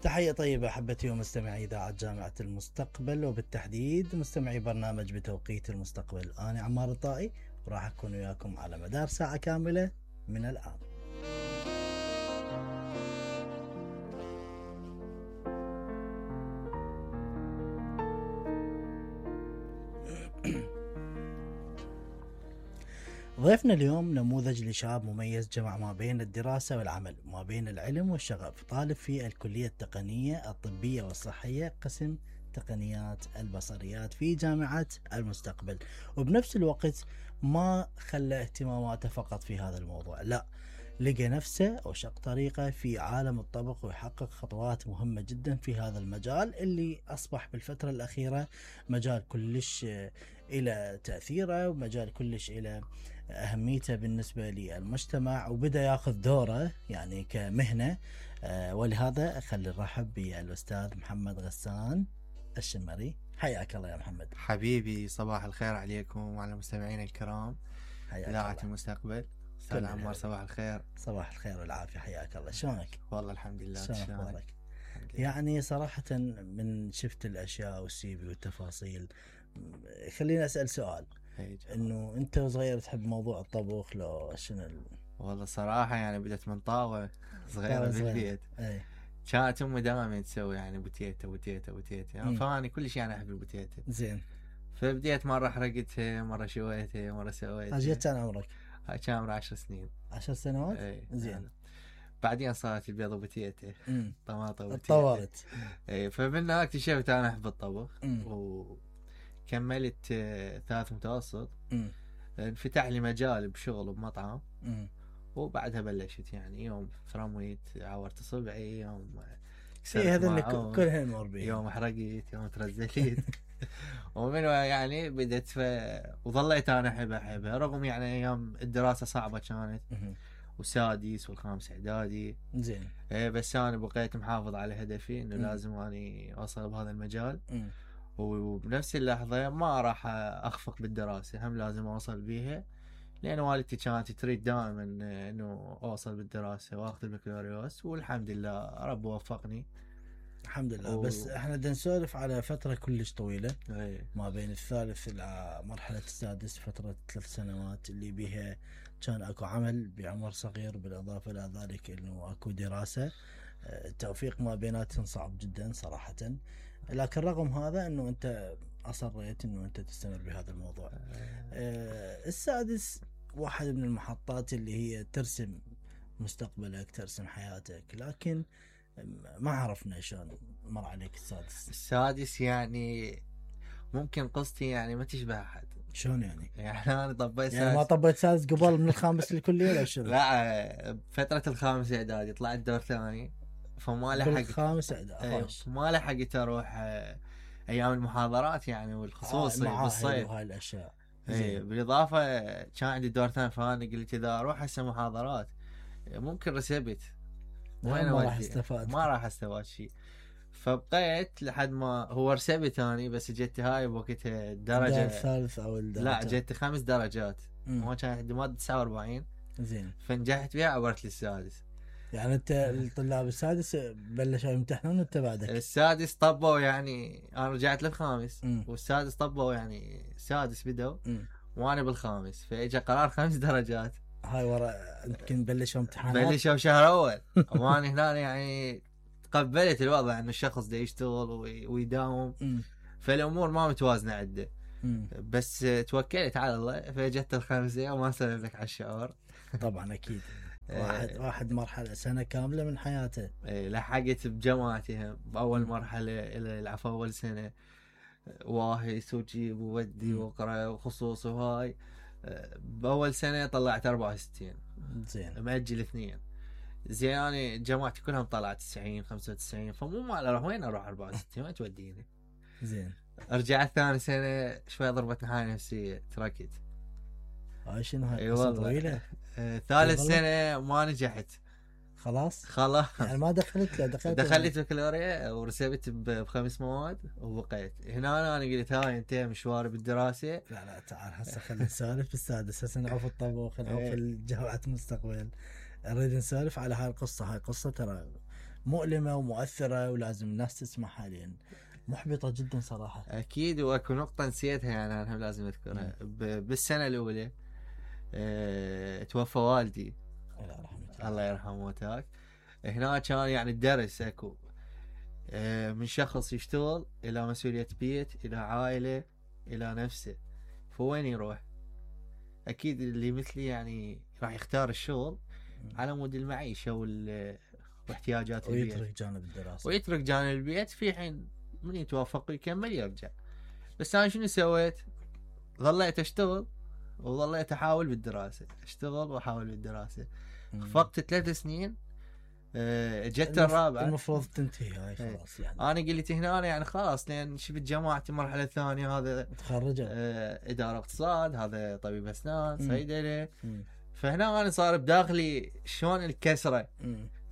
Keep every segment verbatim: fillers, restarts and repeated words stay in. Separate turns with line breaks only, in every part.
تحية طيبة أحبتي ومستمعي إذاعة جامعة المستقبل، وبالتحديد مستمعي برنامج بتوقيت المستقبل. أنا عمار الطائي وراح أكون وياكم على مدار ساعة كاملة من الآن. ضيفنا اليوم نموذج لشاب مميز جمع ما بين الدراسة والعمل، ما بين العلم والشغف. طالب في الكلية التقنية الطبية والصحية قسم تقنيات البصريات في جامعة المستقبل، وبنفس الوقت ما خلى اهتماماته فقط في هذا الموضوع، لا، لقى نفسه أو شق طريقه في عالم الطبخ ويحقق خطوات مهمة جدا في هذا المجال اللي أصبح بالفترة الأخيرة مجال كلش إلى تأثيره ومجال كلش إلى أهميته بالنسبة للمجتمع، وبدأ ياخذ دوره يعني كمهنة. أه ولهذا خلي نرحب بالأستاذ محمد غسان الشمري. حياك الله يا محمد.
حبيبي، صباح الخير عليكم وعلى مستمعينا الكرام إذاعة المستقبل. استاذ عمار صباح الخير.
صباح الخير والعافية، حياك الله. شلونك؟
والله الحمد لله.
شلونك؟ يعني صراحة من شفت الأشياء والسي في والتفاصيل، خليني أسأل سؤال، إنه أنت وصغير تحب موضوع الطبخ لو شنو؟
والله صراحة يعني بدأت من طاوة صغيرة بالبيت. كانت أمي دائما تسوي يعني بوتيتا بوتيتا بوتيتا يعني، فأنا كل شيء أنا أحب البوتيتا.
زين.
فبديت مرة حرقتها، مرة شويتها، مرة سويتها.
أجيت كان عمرك؟
كان عمري عشر سنين.
عشر سنوات؟
ايه.
زين.
يعني. بعدين صارت البيض وبوتيتا، طماطم وبوتيتا.
تطورت.
ايه، فمنها اكتشفت انا احب الطبخ. وكملت ثالث متوسط.
مم.
انفتح لي مجال بشغل بمطعم.
مم.
وبعدها بلشت يعني يوم فرميت عورت صبعي، يوم
ايه هذا اللي كلها نمر بيه،
يوم حرقت، يوم ترزلت. ومن يعني بدت ف... وظليت انا احبها احبها رغم يعني ايام الدراسه صعبه كانت، وسادس والخامس اعدادي.
زين.
ايه، بس انا بقيت محافظ على هدفي انه لازم اني اوصل بهذا المجال.
مم.
وبنفس اللحظه ما راح اخفق بالدراسه، هم لازم اوصل بيها، لان والدتي كانت تريد دائما انه اوصل بالدراسه واخذ البكالوريوس، والحمد لله رب وفقني
الحمد لله. و... بس احنا بدنا نسولف على فتره كلش طويله.
أي.
ما بين الثالث الى مرحله السادس، فتره ثلاث سنوات اللي بها كان اكو عمل بعمر صغير، بالاضافه الى ذلك انه اكو دراسه. التوفيق ما بيناتهم صعب جدا صراحه، لكن رغم هذا انه انت اصريت انه انت تستمر بهذا الموضوع. أه السادس واحد من المحطات اللي هي ترسم مستقبلك، ترسم حياتك، لكن ما عرفنا شلون مر عليك السادس.
السادس يعني ممكن قصتي يعني ما تشبه احد.
شلون يعني؟
يعني انا طبيت
يعني ما طبيت سادس قبل من الخامس للكليه ولا شنو؟
لا، فتره الخامس اعدادي طلعت دور ثاني، فما لحقت
الخامس اعدادي
ما لحقت اروح ايام المحاضرات يعني، والخصوصي
آه
بالصيف
وهاي الاشياء.
اي، بالاضافه كان عندي دور ثاني، فانا قلت اذا اروح هسه محاضرات ممكن رسبت، وين
ما راح استفاد،
ما راح استفاد شيء. فبقيت لحد ما هو رسبت ثاني، بس جت هاي بوقتها الدرجه
الثالث او الدرجة.
لا، جت خمس درجات، ما كان عندي ماده تسعة وأربعين.
زين.
فنجحت بها، عبرت للسادس.
يعني انت الطلاب السادس بلشوا يمتحنون وانت بعدك؟
السادس طبوا يعني، انا رجعت للخامس، م. والسادس طبوا يعني السادس بدوا م. وانا بالخامس، فاجى قرار خمس درجات.
هاي ورا يمكن بلشوا امتحانات،
بلشوا شهر اول. وانا هنا يعني تقبلت الوضع انه الشخص ده يشتغل ويداوم، م. فالامور ما متوازنه عنده، بس توكلت على الله، فجت الخمسه وما سلم على الشعور.
طبعا اكيد. واحد واحد مرحله سنه كامله من حياته.
ايه، لحقت بجامعتهم باول مرحله الى العفو اول سنه، واهس وجيب وودي واقرا وخصوص وهاي. باول سنه طلعت أربعة وستين.
زين.
مأجل اثنين. زين، انا جامعتي كلهم طلعت تسعين خمسة وتسعين، فمو مال اروح وين اروح أربعة وستين، وين توديني.
زين.
رجعت ثاني سنه شوي ضربتني حالي نفسيه، تركت.
هاي شنو هاي قصه طويله.
آه، ثالث سنه ما نجحت.
خلاص
خلاص
يعني ما دخلت له دخلت
دخلت بكالوريا ورسبت بخمس مواد وبقيت هنا. انا قلت هاي انتهى مشواري بالدراسه.
لا لا تعال هسه خلينا نسولف بالسادس، هسه نعوف الطبخ، نعوف الجامعة المستقبل، نريد نسولف على هاي القصه. هاي قصه ترى مؤلمة ومؤثرة ولازم الناس تسمعها لأن محبطة جدا صراحة.
اكيد. واكو نقطة نسيتها يعني انا لازم اذكرها. بالسنة الاولى أه... توفى والدي
الله يرحمه.
الله يرحمه وتاك. هنا كان يعني الدرس اكو أه... من شخص يشتغل الى مسؤولية بيت الى عائلة الى نفسه، فوين يروح؟ اكيد اللي مثلي يعني راح يختار الشغل على مود المعيشة وال... واحتياجات البيت،
ويترك جانب الدراسة
ويترك جانب البيت، في حين من يتوافق ويكمل يرجع. بس انا شنو سويت؟ ظليت اشتغل وظليت احاول بالدراسة، اشتغل واحاول بالدراسة. فقط ثلاث سنين أه... جت الرابعة
المفروض تنتهي هاي خلاص يعني.
انا قلت هنا أنا يعني خلاص لان شفت جماعتي المرحلة الثانية هذا
تخرجوا
أه... ادارة اقتصاد، هذا طبيب اسنان، صيدلة. فهنا انا صار بداخلي شلون الكسرة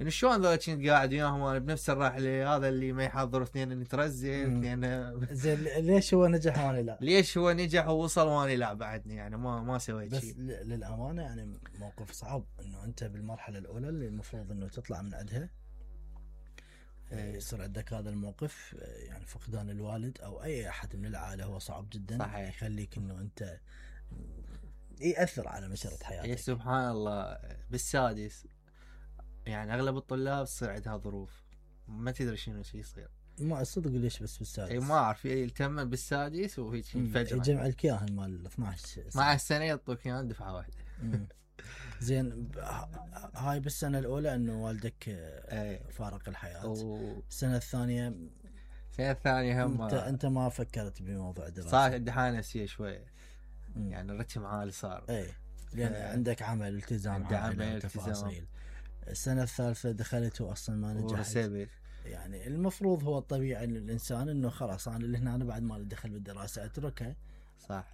انه شلون ذول كنت قاعد وياهم انا بنفس الرحله، هذا اللي ما يحضر اثنين نترزل اثنين.
زين ليش هو نجح وانا لا؟
ليش هو نجح ووصل وانا لا بعدني؟ يعني ما ما سويت شيء.
بس للامانه يعني موقف صعب انه انت بالمرحله الاولى اللي المفروض انه تطلع من عندها يصير عندك هذا الموقف، يعني فقدان الوالد او اي احد من العائله هو صعب جدا.
صحيح.
يخليك انه انت ياثر على مسيره حياتك.
يا سبحان الله. بالسادس يعني اغلب الطلاب تصير عندها ظروف ما تدري شنو شي يصير.
ما صدق ليش بس بالسادس؟
اي ما اعرف يلتم بالسادس وهيك فجأة
جمع الكياهن مال اثناشر
مع السنه يعطوك اياه دفعه واحده.
زين هاي بالسنه الاولى انه والدك فارق الحياه.
و...
السنه الثانيه
السنه الثانيه هم
انت انت ما فكرت بموضوع الدراسه؟
صار عندي حاله نفسيه شويه، يعني الرتم عالي صار.
اي لان آه. عندك عمل التزام
عمل تفاصيل.
السنه الثالثه دخلت واصلا ما نجحت. يعني المفروض هو الطبيعي للانسان انه خلاص انا اللي هنا أنا بعد ما ادخل بالدراسه اتركها.
صح.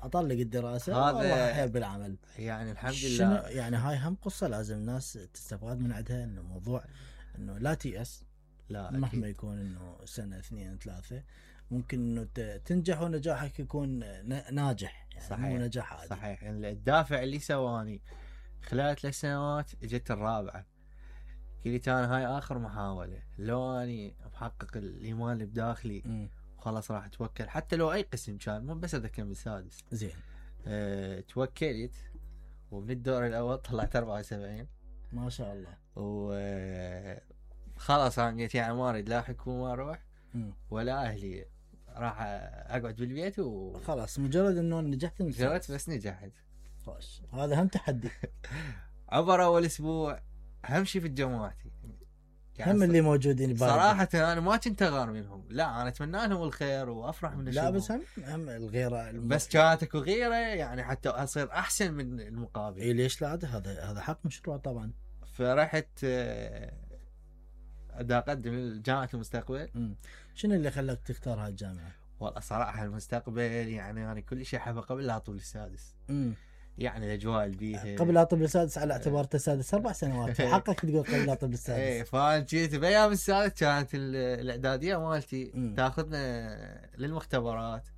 اطلق الدراسه
هذا
احيا بالعمل.
يعني الحمد لله.
يعني هاي هم قصه لازم الناس تستفاد من عندها، انه موضوع انه لا تيأس.
لا
مهما أكيد. يكون انه سنه اثنين ثلاثه ممكن انه تنجح ونجاحك يكون ناجح، يعني
صحيح.
مو نجاح عادي.
صحيح. يعني الدافع اللي سواني خلال ثلاث سنوات اجت الرابعه، قلت انا هاي اخر محاوله، لو اني محقق الايمان اللي بداخلي خلاص راح اتوكل حتى لو اي قسم كان، مو بس اذكر بالسادس.
زين.
أه توكلت ومن الدور الاول طلعت أربعة وسبعين
ما شاء الله.
و خلاص انا قلت يعني ما اريد لا حكومه اروح ولا اهلي، راح اقعد بالبيت و
خلاص مجرد انه نجحت
نجحت بس نجحت.
خوش هذا هم تحدي.
عبر اول اسبوع اهم شيء في جماعتي
يعني هم اللي موجودين
صراحة أنا ما كنت أغار منهم، لا أنا أتمنى لهم الخير وأفرح من الشغل.
لا بس هم هم الغيرة الم...
بس كانت اكو غيرة يعني حتى أصير أحسن من المقابل.
إيه ليش لا؟ هذا هذا حق مشروع طبعا.
فرحت أدا أقدم لجامعة المستقبل.
م. شنو اللي خلاك تختار هاي الجامعة؟
والله صراحة المستقبل يعني أنا كل شيء أحبه قبل لا أطول السادس.
م.
يعني الاجواء اللي بيها
قبل لا اطب السادس على اعتبار السادس اربع سنوات حقك تقول قبل لا اطب السادس.
ايه فانا جيت بايام السادس كانت الاعداديه مالتي تاخذنا للمختبرات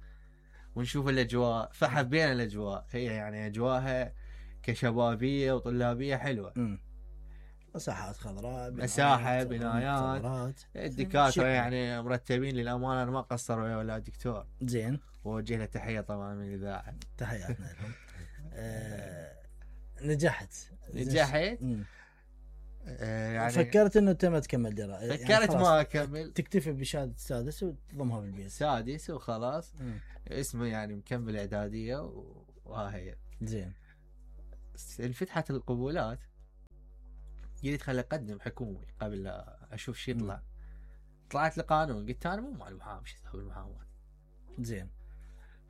ونشوف الاجواء، فحبينا الاجواء. هي يعني اجواءها كشبابيه وطلابيه حلوه.
امم مساحات خضراء،
مساحه، بنايات، الدكاتره يعني مرتبين للامانه. انا ما قصروا ولا دكتور.
زين.
ووجه له تحيه طبعا من الاذاعه.
تحياتنا لهم. آه، نجحت
نجحت آه يعني
فكرت انه انت ما تكمل دراسه؟
فكرت يعني ما اكمل،
تكتفي بشهاده السادس وتضمها بالبيت.
سادس وخلاص. مم. اسمه يعني مكمل اعداديه وهاي.
زين.
انفتحت القبولات قلت خلي اقدم حكومي قبل لا اشوف شي يطلع. طلعت لقانون، قلت انا مو مع المحامي، شو اسوي بالمحاماه.
زين.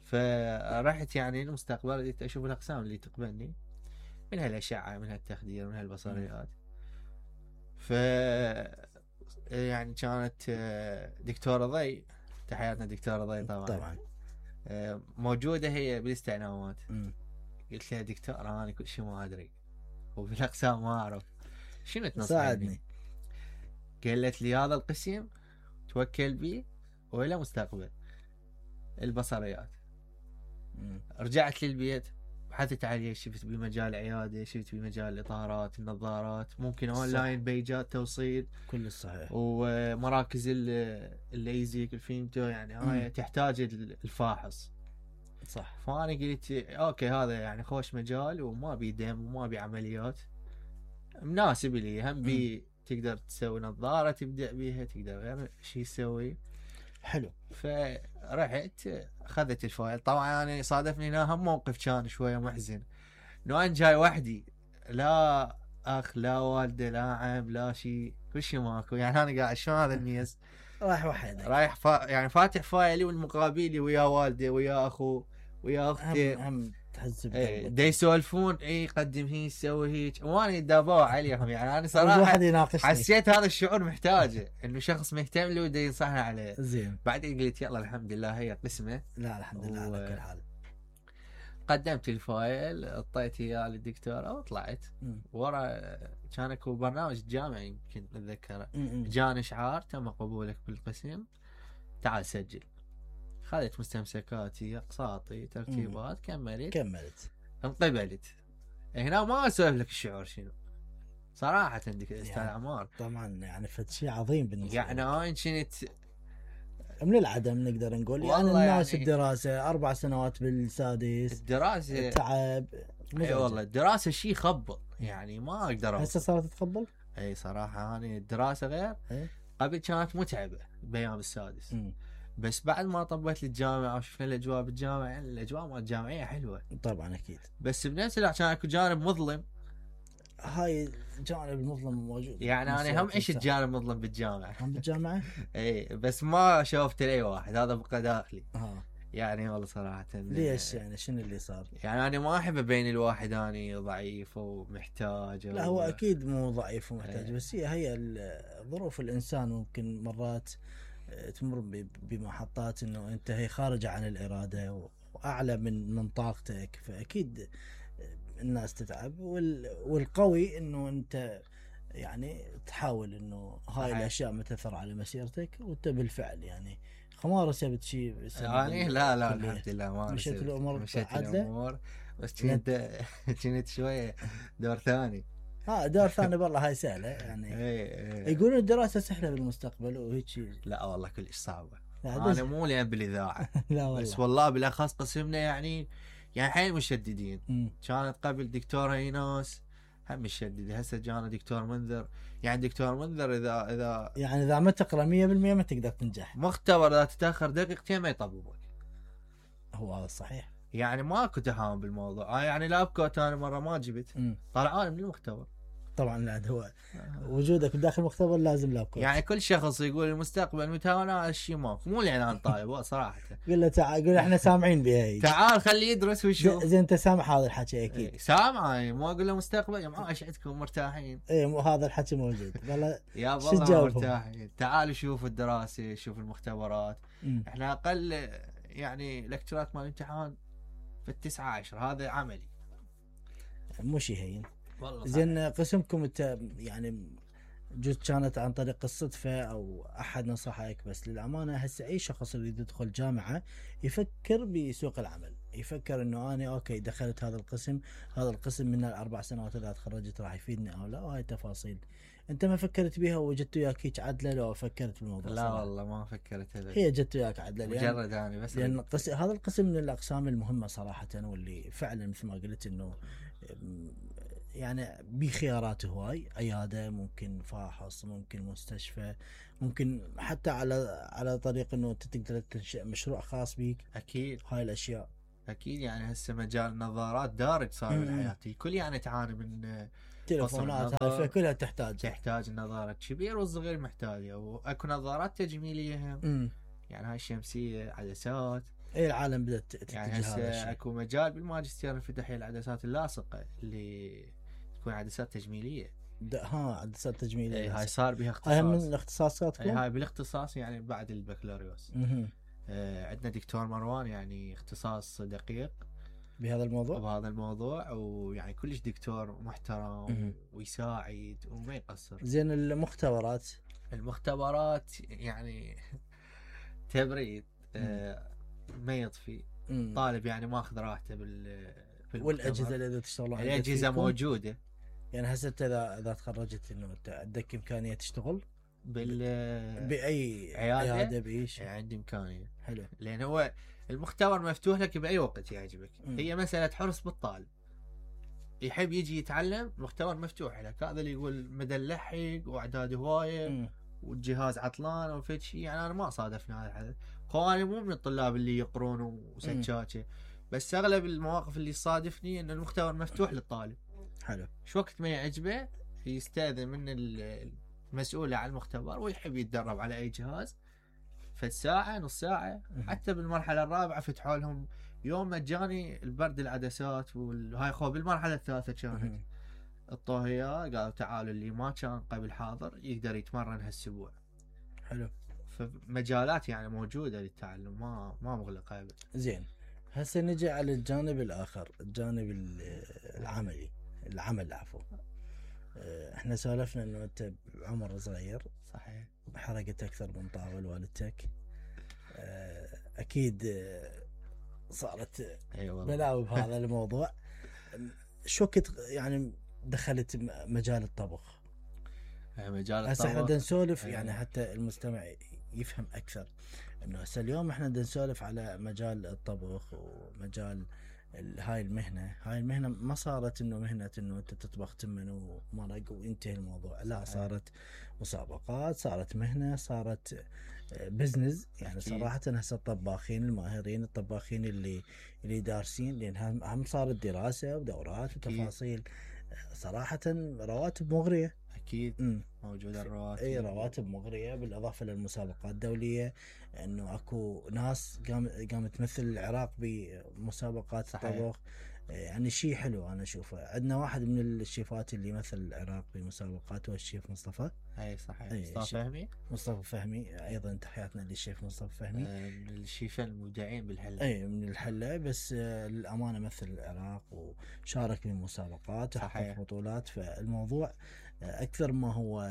فرحت يعني المستقبل قلت اشوف الاقسام اللي تقبلني، من هالاشعه، من هالتخدير، من هالبصريات. ف يعني كانت دكتوره ضي، تحياتنا دكتوره ضي طبعا
طبعا
موجوده هي بالاستعناوات. قلت لها دكتور انا كل شيء ما ادري وبالاقسام ما اعرف، شنو تنصحني؟ قالت لي هذا القسم توكل بيه ولا مستقبل البصريات. مم. رجعت للبيت بحثت عليه، شفت بمجال عياده، شفت بمجال الاطارات، النظارات، ممكن اونلاين بيجات توصيل
كل صحيح،
ومراكز الليزك الفيمتو، يعني هاي تحتاج الفاحص.
صح.
فانا قلت اوكي هذا يعني خوش مجال وما بي دم وما بي عمليات، مناسب لي. هم بي تقدر تسوي نظاره تبدا بيها، تقدر غير شيء تسوي.
حلو.
فرحت اخذت الفايل. طبعا انا صادفني هنا هم موقف كان شويه محزن، انه انا جاي وحدي، لا اخ لا والده لا عم لا شيء، كل شيء ماكو. يعني انا قاعد شلون هذا الميز
رايح وحدك،
رايح فا يعني فاتح فايلي والمقابلي ويا والدي ويا اخو ويا اختي،
هم هم تحس
ايه دا يسولفون، اي قدم هيك سوي هيك، وانا دابوا عليهم. يعني انا صراحه
واحد يناقشني،
حسيت هذا الشعور محتاجه، انه شخص مهتم له ودا ينصحنا عليه.
زين.
بعدين قلت يلا الحمد لله هي قسمه.
لا الحمد لله
و...
على كل حال.
قدمت الفايل، اعطيت اياه للدكتوره وطلعت. ورا كان اكو برنامج جامعي يمكن اتذكره، جاني اشعار تم قبولك بالقسم، تعال سجل. خذت مستمسكاتي، اقساطي، ترتيبات، كملت
كملت
انقبلت. هنا ما اسولف لك الشعور شنو صراحه عندك استاذ
يعني
عمار.
طبعا يعني فد شيء عظيم بالنسبه
يعني انا كنت
من العدم نقدر نقول، يعني الناس يعني الدراسه اربع سنوات بالسادس،
الدراسه
تعب.
اي والله الدراسه شيء يخبط، يعني ما اقدر.
هسه صارت تخبل؟
اي صراحه انا الدراسه غير.
إيه؟
قبل كانت متعبه بايام السادس،
م.
بس بعد ما طبيت للجامعه وشفنا الاجواء بالجامعه، يعني الاجواء مال الجامعيه حلوه
طبعا اكيد،
بس بنفس الوقت كان اكو جانب مظلم.
هاي الجانب المظلم موجود.
يعني انا هم عشت جانب مظلم بالجامعه.
هم بالجامعه؟
اي بس ما شوفت لاي واحد، هذا بقى داخلي.
ها.
يعني والله صراحه
ليش يعني شنو اللي صار؟
يعني انا ما احب ابين الواحد اني ضعيف ومحتاج.
لا هو اكيد مو ضعيف ومحتاج، بس هي هي ظروف الانسان ممكن مرات تمر بمحطات انه انت هي خارجه عن الاراده واعلى من من طاقتك، فاكيد الناس تتعب. والقوي انه انت يعني تحاول انه هاي الاشياء ما تاثر على مسيرتك، وانت بالفعل يعني خمار سبت شيء
يعني لا لا الحمد لله ما
مشيت الامور
مشيت الامور، بس كنت كنت شويه دور ثاني.
ها دور ثاني والله هاي سهله يعني. يقولون الدراسه سهله بالمستقبل وهيك شيء.
لا والله كلش صعبه. انا مو لين بالاذاعه
لا والله،
بس والله بالاخص قسمنا يعني يعني حيل مشددين. م. كانت قبل دكتوره ايناس هم مشدده، هسه جانا دكتور منذر. يعني دكتور منذر اذا اذا
يعني اذا ما تقرا مية بالمية ما تقدر تنجح.
مختبر اذا تتاخر دقيقتين ما يطببك.
هو هذا صحيح.
يعني ماكو تهاون بالموضوع. يعني لابكوت انا مره ما جبت، طلعان من المختبر.
طبعا لا هو وجودك داخل المختبر لازم لابكوت.
يعني كل شخص يقول المستقبل متهاون على الشيء ماكو، مو لان انا طالب صراحه.
قل له تعال، قل احنا سامعين بها،
تعال خليه يدرس ويشوف.
زين انت سامع هذا الحكي اكيد؟
ايه سامع. مو اقول له مستقبل يا معاش عندكم مرتاحين.
اي مو هذا الحكي موجود والله.
يا والله مرتاحين. تعالوا شوفوا الدراسه، شوفوا المختبرات. م. احنا اقل يعني لكتشرات مال الامتحان في التسعة عشر، هذا عملي
مو شيء هين. زين قسمكم انت يعني جزء كانت عن طريق الصدفة أو أحد نصحك؟ بس للأمانة هسه أي شخص يريد يدخل جامعة يفكر بسوق العمل، يفكر إنه أنا أوكي دخلت هذا القسم، هذا القسم من الأربع سنوات إذا تخرجت راح يفيدني أو لا، وهاي تفاصيل أنت ما فكرت بها وجدت وياك هيك عدلة لو فكرت بالموضوع؟
لا صراحة. والله ما فكرت هذا،
هي جت وياك عدلة
مجرد يعني بس
لأن قس... هذا القسم من الأقسام المهمة صراحة، واللي فعلا مثل ما قلت إنه يعني بخيارات هواي، عياده، ممكن فاحص، ممكن مستشفى، ممكن حتى على على طريق انه انت تقدر تنشئ مشروع خاص بيك.
اكيد
هاي الاشياء
اكيد. يعني هسه مجال النظارات دارج صار بالحياه، الكل يعني تعاني من
تليفونات، هاي كلها تحتاج
تحتاج النظاره الكبير والصغير محتاجه، واكو نظارات تجميليه هم. يعني هاي الشمسيه، عدسات.
اي العالم بدات تتجه
يعني هسه اكو مجال بالماجستير انفتح العدسات اللاصقه اللي تكون عدسات تجميليه.
ها عدسات تجميليه.
اي هاي صار بها اختصاص.
هاي من اختصاصاتكم؟
اي هاي بالاختصاص يعني بعد البكالوريوس. آه عندنا دكتور مروان يعني اختصاص دقيق
بهذا الموضوع
بهذا الموضوع ويعني كلش دكتور محترم ويساعد وما يقصر.
زين المختبرات
المختبرات يعني تبريد آه ما يطفي. طالب يعني ماخذ راحته بال
والاجهزه اللي تشتغلون عليها
الاجهزه موجوده
يعني هسه انت اذا اذا تخرجت انه انت عندك امكانيه تشتغل
بال
باي
عياده,
عيادة باي شيء؟
عندي امكانيه.
حلو.
لان هو المختبر مفتوح لك باي وقت يعجبك. م. هي مساله حرص بالطالب، يحب يجي يتعلم المختبر مفتوح لك. هذا اللي يقول مدى نلحق واعداد هوايه والجهاز عطلان او في شيء، يعني انا ما صادفنا هذا الحدث. هو انا مو من الطلاب اللي يقرون وسجاجه، بس اغلب المواقف اللي صادفني ان المختبر مفتوح للطالب.
حلو.
شو وقت ما يعجبه يستاذن من المسؤول على المختبر ويحب يتدرب على اي جهاز في ساعه نص ساعه. حتى بالمرحله الرابعه فتحوا لهم يوم مجاني البرد العدسات وهاي. خو بالمرحله الثالثه كانت الطاهيه قالوا تعالوا اللي ما كان قبل حاضر يقدر يتمرن هالاسبوع.
حلو.
فمجالات يعني موجوده للتعلم، ما ما مغلقه ابدا.
زين، هسه نجي على الجانب الاخر، الجانب العملي، العمل عفوا. احنا سولفنا انه انت بعمر صغير.
صحيح.
حرقت اكثر من طاول والدتك. اكيد صارت بلاوي بهذا الموضوع. شو كنت يعني دخلت مجال الطبخ؟
مجال الطبخ
هسه احنا بدنا نسولف يعني حتى المستمع يفهم اكثر انه هسه اليوم احنا بدنا نسولف على مجال الطبخ ومجال هاي المهنه. هاي المهنه ما صارت انه مهنه انه انت تطبخ تمن ومرق وينتهي الموضوع، لا، صارت مسابقات، صارت مهنه، صارت بزنس. يعني صراحه هسه الطباخين الماهرين، الطباخين اللي اللي دارسين، لان هم صارت دراسه ودورات وتفاصيل. صراحه رواتب مغريه.
اكيد م. موجوده الرواتب.
اي رواتب مغريه، بالاضافه للمسابقات الدوليه. انه اكو ناس قام قامت تمثل العراق بمسابقات الطبخ. يعني شيء حلو انا اشوفه. عندنا واحد من الشيفات اللي مثل العراق بمسابقات هو الشيف مصطفى.
اي صحيح. مصطفى فهمي.
مصطفى فهمي ايضا تحياتنا للشيف مصطفى فهمي.
آه من الشيفين المبدعين بالحله.
اي من الحله، بس آه للامانه مثل العراق وشارك بمسابقات وحقق بطولات. فالموضوع اكثر ما هو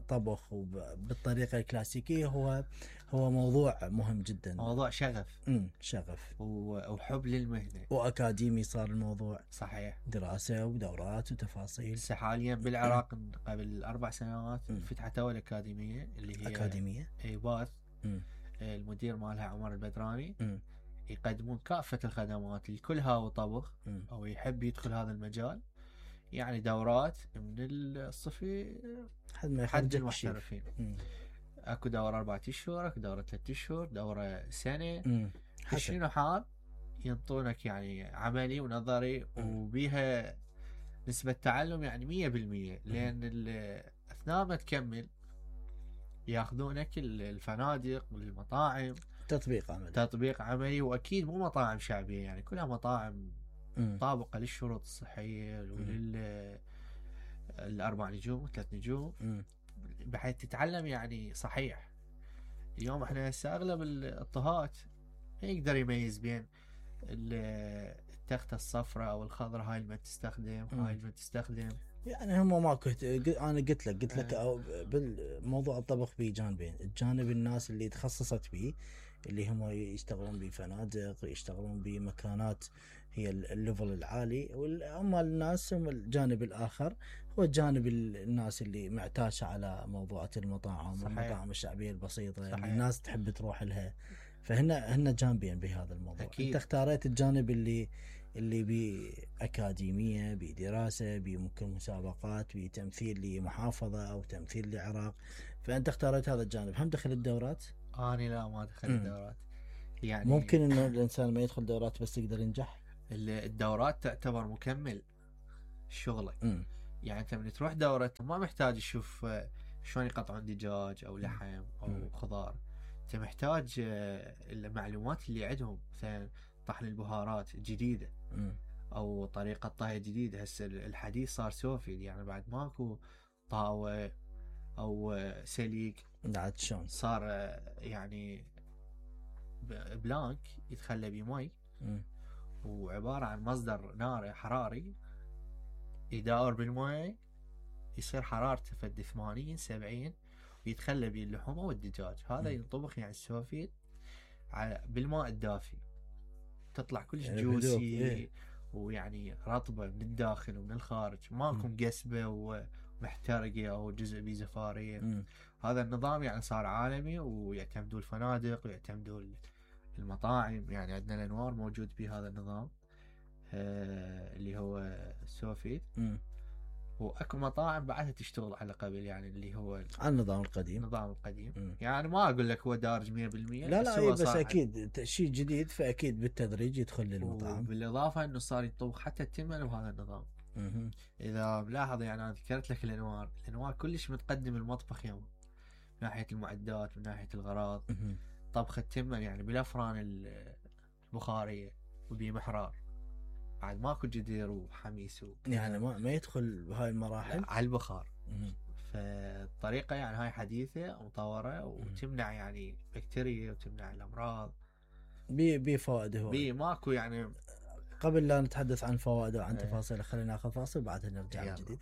طبخ وبالطريقه الكلاسيكيه، هو هو موضوع مهم جدا،
موضوع شغف.
امم شغف
وحب للمهنه،
واكاديمي صار الموضوع.
صحيح.
دراسه ودورات وتفاصيل.
هسه حاليا بالعراق قبل اربع سنوات فتحت اول اكاديميه اللي هي
اكاديميه
اي باث. المدير مالها عمر البدراني.
م.
يقدمون كافه الخدمات لكل هاو طبخ م. او يحب يدخل هذا المجال. يعني دورات من الصفي
حد ما
حد المحترفين. اكو دوره اربعة اشهر، اكو دوره ثلاث اشهر، دوره سنه. شنو حال ينطونك يعني عملي ونظري، م. وبيها نسبه تعلم يعني مية بالمية. لان اثناء ما تكمل ياخذونك الفنادق والمطاعم
تطبيق عملي.
تطبيق عملي، واكيد مو مطاعم شعبيه، يعني كلها مطاعم
م.
طابقه للشروط الصحيه ولل الاربع نجوم وثلاث نجوم،
م.
بحيث تتعلم يعني صحيح. اليوم احنا هسه اغلب الطهات ما يقدر يميز بين التخته الصفراء او الخضراء، هاي اللي ما تستخدم، هاي اللي ما تستخدم.
يعني هم ما كنت انا قلت لك قلت لك أو بالموضوع الطبخ به جانبين. الجانب الناس اللي تخصصت به، اللي هم يشتغلون بفنادق، يشتغلون بمكانات هي الليفل العالي، واما الناس هم الجانب الاخر هو الجانب الناس اللي معتاشه على موضوعات المطاعم والمطاعم الشعبيه البسيطه. صحيح. اللي الناس تحب تروح لها. فهن هن جانبين بهذا الموضوع.
أكيد.
انت اختاريت الجانب اللي اللي بأكاديمية، بدراسة، بممكن مسابقات، بتمثيل لمحافظة أو تمثيل لعراق. فأنت اختارت هذا الجانب. هم دخل الدورات؟
أنا لا ما دخل الدورات. يعني
ممكن إنه الإنسان ما يدخل دورات بس يقدر ينجح.
الدورات تعتبر مكمل شغلك.
م.
يعني أنت من تروح دورة ما محتاج تشوف شلون يقطعون دجاج أو لحم أو م. خضار. أنت محتاج المعلومات اللي عندهم، مثلا طحن البهارات جديدة
م.
او طريقة طهي جديدة. هسه الحديث صار سوفي، يعني بعد ماكو طاوة او سليك.
بعد شلون
صار يعني بلانك يتخلى بمي، وعبارة عن مصدر نار حراري يداور بالمي، يصير حرارته فد ثمانين سبعين، ويتخلى بيه اللحوم والدجاج. هذا ينطبخ يعني السوفي على بالماء الدافي، تطلع كلش
يعني
جوسي.
إيه؟
ويعني رطبه من الداخل ومن الخارج، ماكو مقسبه ومحترقه او جزء بيه زفاريه.
م.
هذا النظام يعني صار عالمي، ويعتمدوا الفنادق ويعتمدوا المطاعم. يعني عندنا الانوار موجود بهذا النظام آه اللي هو سوفيت.
م.
واكو مطاعم بعدها تشتغل على قبل، يعني اللي هو
على النظام القديم.
النظام القديم.
م.
يعني ما اقول لك هو دارج مية بالمية،
لا
بس
لا
هو
بس
صار
اكيد شيء جديد، فاكيد بالتدريج يدخل للمطعم.
وبالاضافه انه صار يطبخ حتى التمن بهذا النظام.
م.
اذا ملاحظ يعني انا ذكرت لك الانوار، الانوار كلش متقدم المطبخ يوم، من ناحيه المعدات، من ناحيه الغراض.
م.
طبخ التمن يعني بالافران البخاريه وبمحرار، بعد ماكو جدير وحميس و...
يعني ما ما يدخل بهاي المراحل
على البخار.
م.
فالطريقه يعني هاي حديثه ومطوره، وتمنع يعني بكتيريا وتمنع الامراض.
بي بي فوائد هو
بي ماكو يعني.
قبل لا نتحدث عن فوائده وعن تفاصيله، خلينا ناخذ فاصل بعدها نرجع من جديد.